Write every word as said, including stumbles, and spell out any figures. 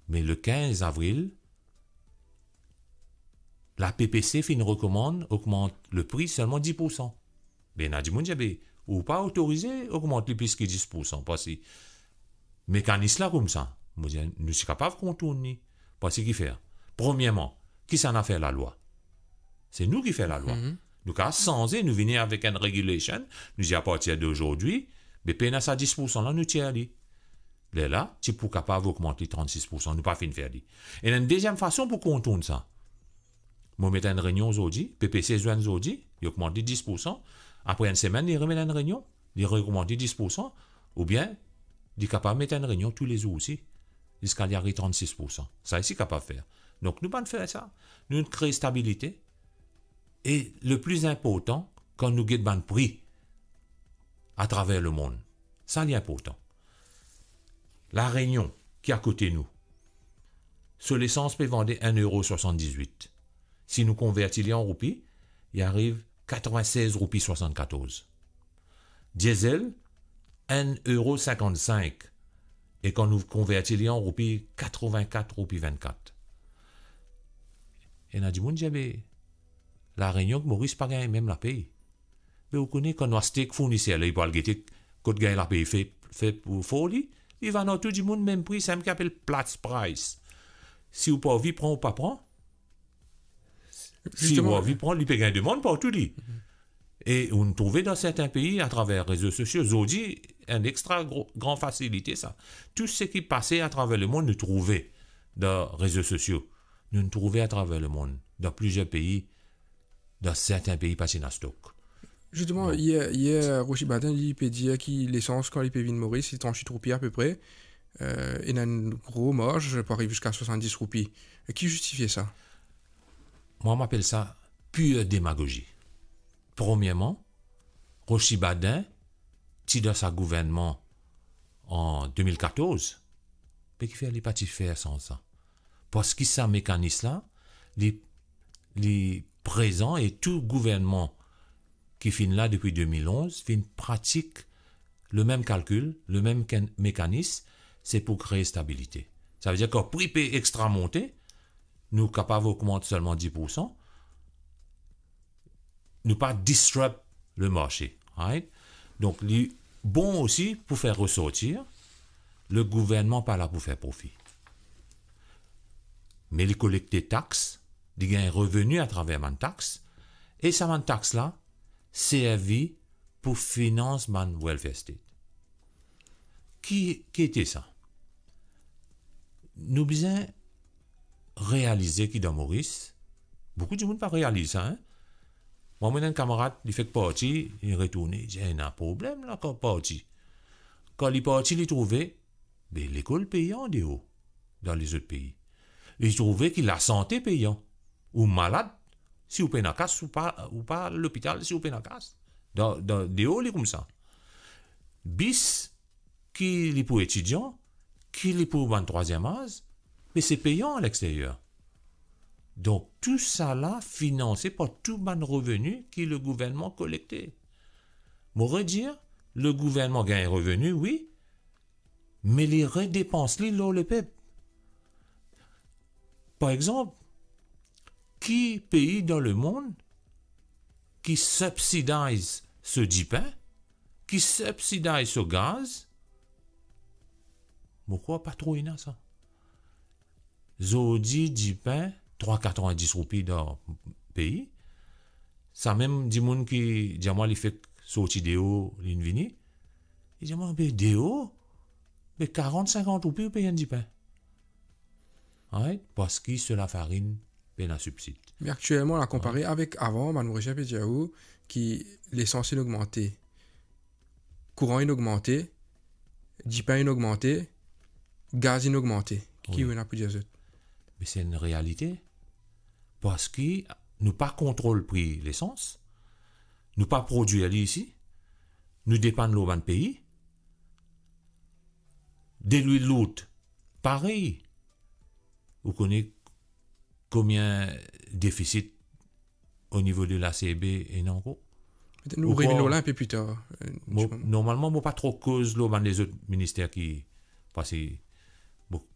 Me le kinz avril, la P P C finn rekomann ogmant le pri selman dis poursan. Be ena dimoun dir, be, ou pa otorize ogmant li plis ki dis poursan, parski mekanis la koumsa. Mo dir, nou ti kapav kontourn li. Parski kifer? Premierman, kisannla fer lalwa? Se nou ki fer lalwa. Mhm. Nou kapav sanze, nou vini avek enn regulation, nou dir, apartir d'aujourd'hui, be pena sa dis poursan la, nou tir li. Lerla, ti pou kapav ogmant li trannsis poursan, nou pa finn fer li. Ena enn deziem fason pou kontourn sa. Mo met enn reynion zordi, P P C zwenn zordi, li ogmant li dis poursan. Apre enn semenn, li remet enn reynion, li reogmant li dis poursan, oubien li kapav met enn reynion toulezour osi, ziska li ariv trannsis poursan. Sa isi kapav fer. Donk, nou pa'nn fer sa. Nou kre stabilite. E le pli inportan, kan nou get bann pri atraver lemond, sa li inportan. La Rényon, ki akote nou, so lesans pe vande enn euro swasanndizwit. Si nou konverti li an roupi, li ariv katrevin-sez roupi swasann-katorz. Diesel, enn euro sinkant-sink. E kan nou konverti li an roupi, katrevin-kat roupi vinn-kat. Ena dimoun dir, be, La Rényon ek Moris pa gagn mem lapey. Me ou kone, kan nou aste ek fourniser la, li pou al gete kot gagn lapey fer, fer pou for li, li vann ar tou dimoun mem pri, samem ki apel Platts price. Si ou pa anvi pran, ou pa pran. Si ou anvi pran, li pe gagn demann partou li. E ou'nn trouve dan sertin pei, atraver rezo sosio, zordi, enn extra gro-, gran fasilite sa. Tou seki pase atraver lemond, nou trouve dan rezo sosio. Nou'nn trouve atraver lemond, dan plizier pei, dan sertin pei pa ti ena stok. Zisteman, yer, yer, Rochi Badin, li pe dir ki lesans, kan li pe vinn Moris, li trann wit roupi apepre, eh, ena enn gro marz pou ariv ziska swasanndis roupi. Ki zistifie sa? Mwa, mo apel sa pir demagozi. Premierman, Rochi Badin ti dan sa gouvernman an de mil katorz, me kifer li pa ti fer sanz sa? Parski sa mekanis la, li, li prezan e tou gouvernman ki finn la depi de mil onz finn pratik lemem kalkil, lemem ken-, mekanis, se pou kre stabilite. Savedir kan pri pe extra monte, nou kapav ogmant selman dis poursan, nou pa disrupt lemarse, right? Donk, li bon osi pou fer resortir, le gouvernman pa la pou fer profi. Me li kolekte tax, li gagn reveni atraver bann tax, e sa bann tax la servi pou finans bann welfare state. Ki, ki ete sa? Nou bizin realize ki dan Moris, boukou dimoun pa realiz sa, en? Mwa, mo ena enn kamarad, li fek parti, li retourne, li dir, "Ena problem la, kan parti." Kan li parti, li trouve, be, lekol peyan deor, dan lezot pei. Li trouve ki lasante peyan. Ou malad, si ou pena kas, ou pa, ou pa lopital, si ou pena kas. Dan, dan, deor li koumsa. Bis, ki li pou etidian, ki li pou bann trwaziem az, me se peyan alexteryer. Donk, tousala finanse par tou bann reveni ki le gouvernman kolekte. Mo redir, le gouvernman gagn reveni, wi, me li redepans li lor lepep. Par exanp, ki pei dan lemond ki subsidize so dipin, ki subsidize so gaz? Mo krwar pa tro ena sa. Zordi, dipin, trwa katrevin-dis roupi dan pei. Samem dimoun ki dir mwa li fek sorti deor, li'nn vini, li dir mwa, be deor, be karant, sinkant roupi ou pey enn dipin. Right? Parski so lafarinn pena sibsid. Me aktielman, la konpare avek avan, bann Morisien pe dir ou ki lesans inn ogmante, kouran inn ogmante, dipin inn ogmante, gaz inn ogmante. Ki ou ena pou dir zot? Me se enn realite. Parski nou pa kontrol pri lesans, nou pa prodwir li isi, nou depann lor bann pei. Delwil lourd, parey. Ou kone konbien defisit o nivo de la C B ena ankor? Petet nou revinn lor la inpe pli tar, eh, normalman, mo pa tro koz lor bann lezot minister ki, parski, bon,